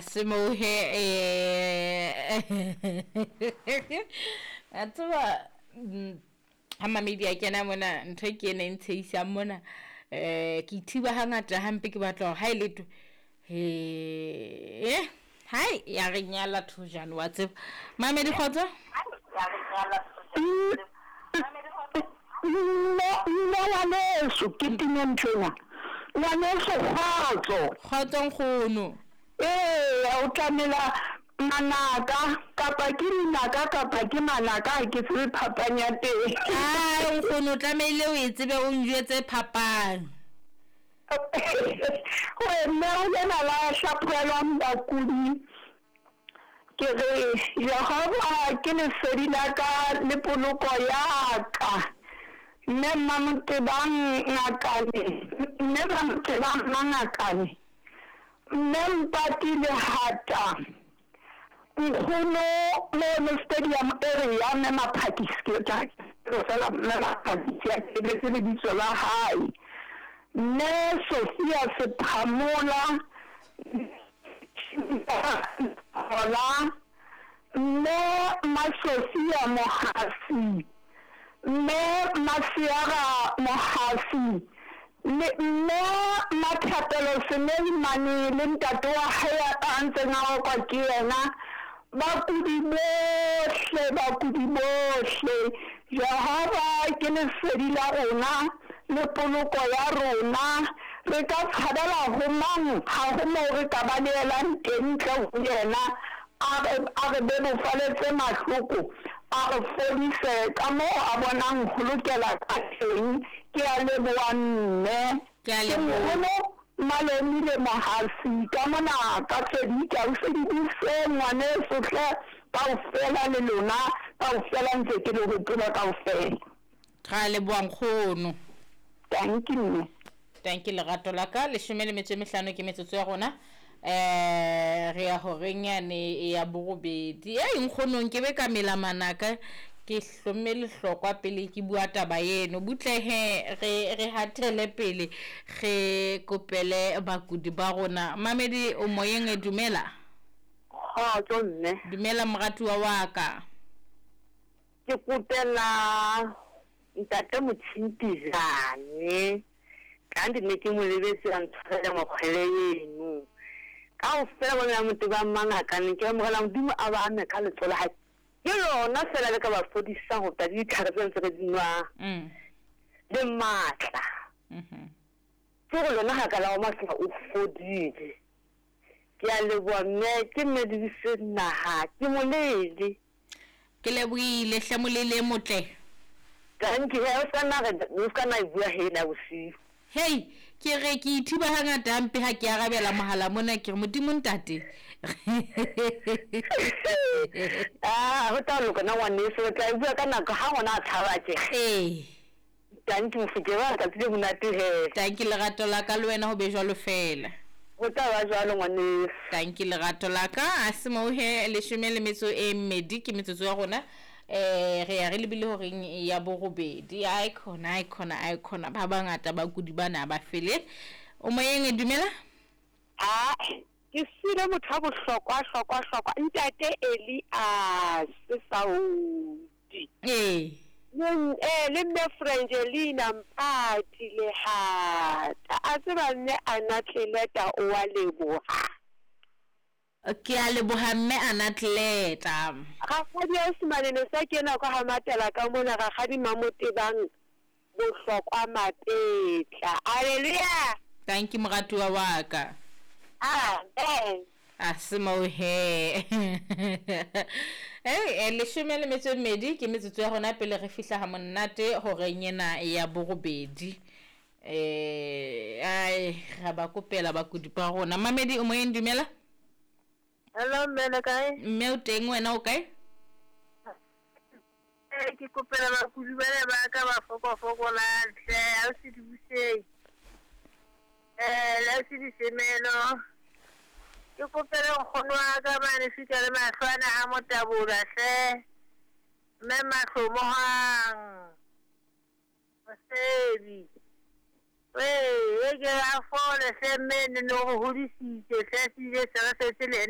Se moo he a tseba ha mamedi a kena mona ntho e ke ena e ntshehisang mona ke ithiba hangata hampe ke batla hore ha e letho he hai ya re nyala thojane wa tseba mamedi kgotso. Mme ngwaneso ke tinye nthwena ngwaneso kgotso. Kgotso nkgono. Ee, o tlamela manaka kapa ke dinaka kapa ke manaka ha ke tsebe phapang ya teng. Ai nkgono o tlamehile o e tsebe o njwetse phapang. Mme o lena la hlaphohelwang bakudi. Ke re Jehova ke lesedi la ka le poloko ya ka. Mme Mamotebang Ngakane, mme Mamotebang Mangakane, mme Mpati Lehata, nkgono mono stadium area mme Maphakisi ke tla fela mme Maphakisi a ke lebitso la hae. Mme Sophia Sephamola, Hola, mme Masofia Mohasi, mme Masiara Mohasi, le mme Mathapelo Seneimane le ntate wa hae a ntseng a okwa ke yena. Bakudi bohle, bakudi bohle, Jehova ke lesedi la rona le poloko ya rona. Re ka tshabela ho mang? Ha ho moo re ka balehelang teng ntle ho yena. A re bebofaletse mahloko, a re fodise ka moo a bonang ho lokela ka teng. Ke a leboha mme. Ke a leboha. Nkgono Malomile Mohasi ka mona ka Fedika o se di buse ngwaneso hle kaofela le lona kaofela ntse ke le hopola kaofela. Ra leboha nkgono. Thank you mme. Thank you lerato la ka. 15 ke metsotso ya rona. Re ya horeng yane ya borobedi. Ei nkgono nke be ka mela manaka ke hlomme lehlokwa pele ke bua taba eno. Butle he re hatele pele re kopele bakudi ba rona. Mamedi o moyeng e dumela. Kgotso mme. Dumela moratuwa wa ka. Ke kopela ntate Motshintijane. Ka ndi ne ke mo lebetse a ntshwarele mokgwele eno. Kaofela bona motho ba mangakane ke amogela Modimo a ba ame ka letsoho la hae. Ke lona fela le ka ba fodisang ho feta ditlhare tse ntse re di nwang. Le matla. Ke gore lona ga ka la wa matlha o fodile. Ke a leboha mme ke mme Dibise naha ke molele. Ke lebohile hle molele motle. Thank you. O ska nna re o ska nna e bua he na bosiu. Hey, ke re ke ithiba hangata hampe ha ke arabela mohala mona ke re Modimo ntate. Ah, ho tla loka na ngwaneso o tla e bua ka nako ha ngwana a tshaba tje. Ee. Thank you mofokeng wa letsatsi le monate he. Thank you lerato la ka le wena ho be jwalo fela. Ho tla ba jwalo ngwaneso. Thank you lerato la ka. A se moo he 12 ke metsotso ya rona. Re ya re lebile horeng ya borobedi. Ai khona ai khona ai khona ba bangata bakudi bana ba fele. O moyeng dumela. Ah, ke sile motho wa bohlokwa hlokwa hlokwa ntate Elias Saudi. Ee. Le mme Frangelina Mpati Lehata. A tseba mme Anatleleta o wa leboha. Ke a leboha mme Anatleleta. Rakgadi Osmane ne sa kena kwa ha matela ka mona rakgadi Mamotebang bohlokwa Mapetla. Hallelujah. Thank you moratuwa wa ka. Amen. A se moo he. 12 ke metsotso ya rona pele re fihla ha monate horeng ena ya borobedi. Ai ra ba kopela bakudi ba rona. Mamedi o moyeng dumela. Hello mme le kae? Mme o teng wena o kae? Ke kopela bakudi bana ba ka ba fokofokolang hle, ha o se di buseng. Le se di semelo. Ke kopela nkgono wa ka mane fika le mahlwana a motabola hle. Mme mahlomohang. Mosedi. Wee, e ke a fole hle mme ne no go hodisitse hle se ile se re setse le